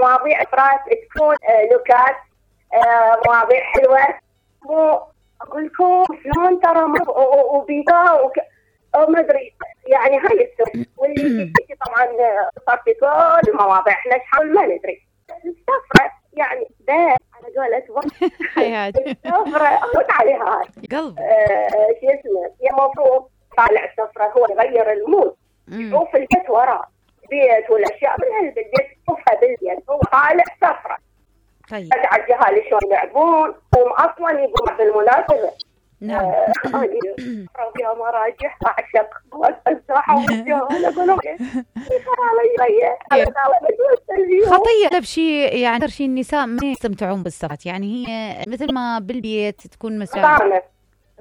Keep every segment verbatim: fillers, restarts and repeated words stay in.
مواضيع افراط تكون نكات، مواضيع حلوه. مو اقول لكم شلون ترى وبيضاء وما ادري يعني هاي السوء واللي طبعا صار في كل المواضيع احنا نحاول ما ندري. السفره يعني ده على قولة حياتي السفره اموت عليها هاي قلبي. آه شو اسمه هي المفروض طالع السفره هو يغير المود، يشوف البيت وراه بيت والاشياء من هالبيت يشوفها بالبيت، هو طالع سفره. طيب على الجهال شلون يلعبون هم اصلا يقومون بالمناسبه. نعم فيها مراجح اعشق الساحه والجهال اقول لهم خطيه بشيء يعني اكثر شيء النساء ما يستمتعون بالسفرات، يعني هي مثل ما بالبيت تكون مساعده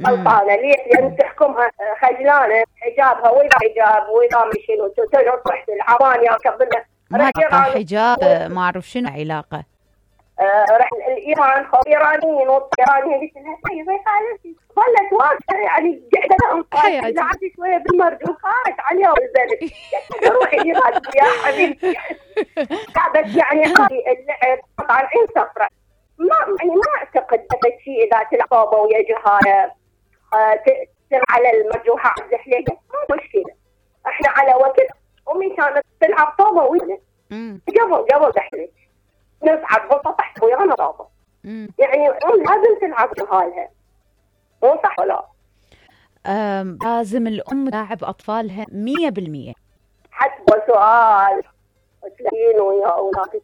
غلطانه. ليش؟ لان تحكمها خجلانه حجابها واذا حجاب واذا مشينو تروح تحت العواني قبلها ما حجاب ما اعرف شنو علاقه. آه رح الايران خو ايرانيين والايرانيين قلت لها طيب يا خالتي ظلت واقفه يعني قاعده انطلق لعبت شويه بالمرجو خارج عليها والبلد روحي ايران يا حبيبتي. بس يعني هذه اللعب طالعين سفره ما يعني ما اعتقد هذا الشيء اذا تلعبوا ويا جهاله آه تصير على المرجوحه الزحليقه مو مشكله. احنا على وقت امي كانت تلعب طوبه ويانا قبل قبل زحليق نصعد بسطح ويانا طابة، يعني لازم تلعب جهالها مو صح ولا؟ لازم الأم تلاعب أطفالها مية بالمية. حسب سؤال تلاقين ويا أولادك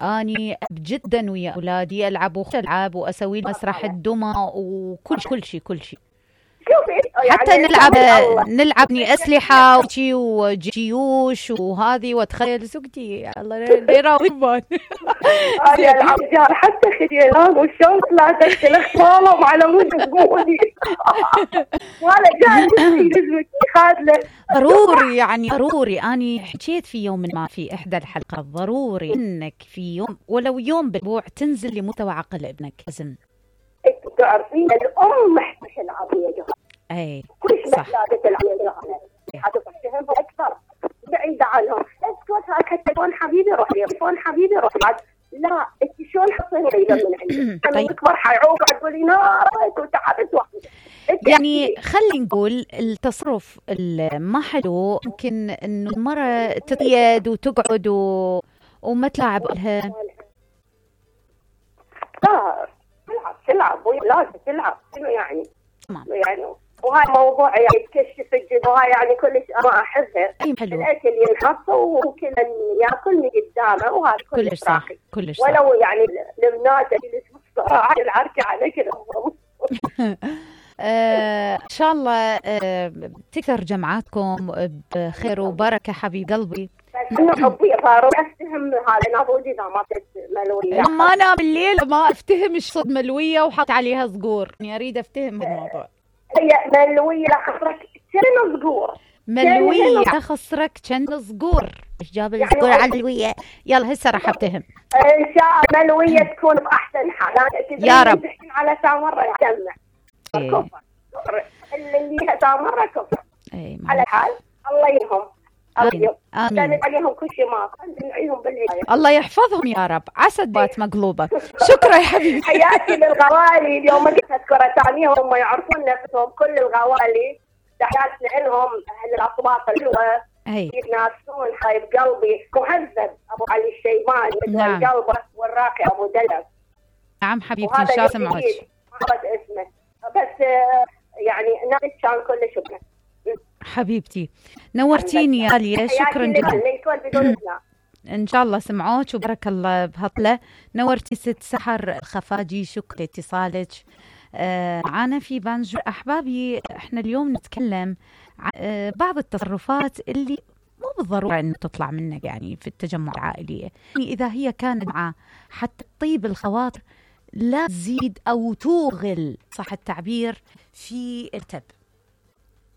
أني جدا ويا أولادي ألعب وألعب وأسوي مسرح الدمى وكل كل شيء كل شيء. يعني حتى نلعب نلعب أسلحة وشي وجيوش وهذه وتخيل سكتي الله يراويبان هاي العب جار حتى خديلان والشوط لا تدخل اخوالهم على مود تقولي ولا جاي خادله ضروري يعني ضروري. أنا حكيت في يوم ما في إحدى الحلقات ضروري إنك في يوم ولو يوم بالأسبوع تنزل لمستوى عقل ابنك. لازم تعرفين الأم محتاجة تلعب يا جماعة. أي كل شيء محتاجة تلعب يا جماعة. حتفهمها أكثر بعيدة عنهم. اسكت هاك التليفون حبيبي روح لي التليفون حبيبي روح بعد. لا أنت شلون حصيني بعيدة من عندي؟ أنا أكبر حيعوق تقولي نارك وتعبت وحدي. يعني خلي نقول التصرف ما حلو يمكن إنه المرة تقيد وتقعد و... وما تلعب لها. لا تلعب تلعب ولازم تلعب شنو يعني؟ تمام يعني وهاي موضوع يعني تكشف الجد وهاي يعني كلش ما احبها. الاكل ينحط وكل ياكل من قدامه وهذا كلش راقي كلش ولو يعني البنات اللي تبص العركه على كذا. ان شاء الله تكثر جمعاتكم بخير وبركه حبيب قلبي. انه حبي صاروا افتهم هذا انا بودي اذا ما كنت ملويه لما انا بالليل ما افتهم ايش صد ملويه وحط عليها صقور، يعني اريد افتهم الموضوع. هي ملويه لا خسرك كم صقور ملويه لا خسرك كم صقور ايش جاب الصقور على الملويه؟ يلا هسه راح افتهم ان شاء الله ملويه تكون باحسن حال يا رب. على ساعه مره يجمع كفر اللي ساعه مره كفر على حال الله يهم آمين. آمين. عليهم كل شيء ما ندعيهم بالهداية. الله يحفظهم يا رب. عسد بات مقلوبة. شكرا يا حبيبي. حياتي للغوالي اليوم ما قلت أذكر أساميهم هم يعرفون نفسهم كل الغوالي تحياتنا لهم أهل الأصوات الحلوة يتناسون حبيب قلبي مهذب أبو علي الشيباني نعم. قلبه والراقي أبو دلب. نعم حبيبتي إن شاء الله سمعوك. ما اسمه بس يعني ناس كان كل شكرا. حبيبتي نورتيني يا غالية شكرا جدا. ان شاء الله سمعوك وبارك الله بهطلة. نورتي ست سحر الخفاجي شكرا لاتصالك آه معانا في بانجو. احبابي احنا اليوم نتكلم عن آه بعض التصرفات اللي مو بالضرورة أن تطلع منك يعني في التجمع العائلية، يعني إذا هي كانت مع حتى طيب الخواطر لا تزيد أو توغل صح التعبير في التب.